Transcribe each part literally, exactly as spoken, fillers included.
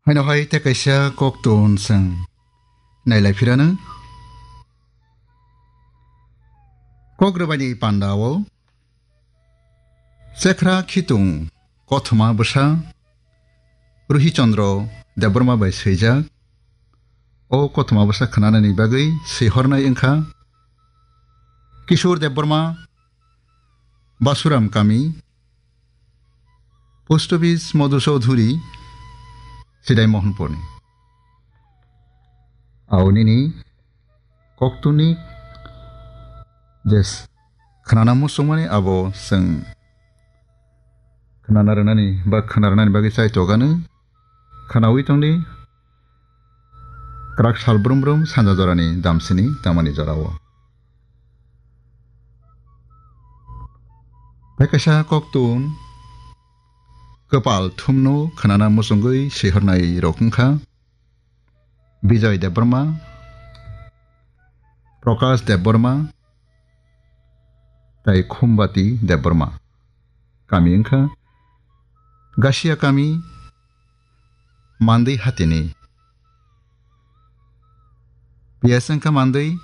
Haino hai tei kaisa koktun chwng nailai phirano. Kok rwbaini pandao Chekra Khitung kothoma bwsa Ruhi Chandra Debbarma bai swijak. O kothoma bwsa khwnanani bagwi swihornai wngkha Kishore Debbarma, Basuram Kami, Post Office Madhu Chaudhuri, Sidai Mohanpurni. Ao nini koktuni je s-, khwnana muchungmani abo chwng khwnana rwnani ba khwna rwnani bagwi chai togano khwnawi tongdi. Kwrak sal brum brum sanja jorani damsini tamani jorao. Hai kaisa koktun kwpal thumno khwnana muchungwi swihornai rok wngkha Bijoy Debbarma, Prakash Debbarma, tei Khumbati Debbarma. Kami wngkha Gasia Kami, Mandwi Hatini. P S wngkha Mandwi,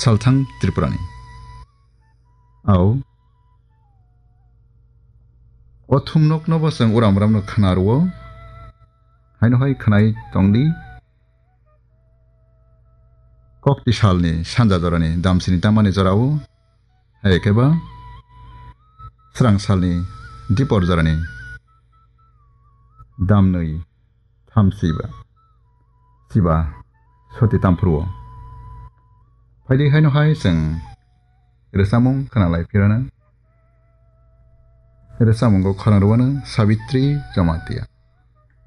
Salthang Tripurani. Ao, o thumnokno bo chwng uram uramno khwna rwo. Haino hai khwnai tongdi. Kokti salni sanja jorani damsini tamani jorao, hai khe ba srang salni dipor jorani damnwi thamsiba siba soti tamphuru. Phaidi haino hai chwng rwchapmung khwnalai phirana. Rwchapmungo khorang rwano Sabitri Jamatia.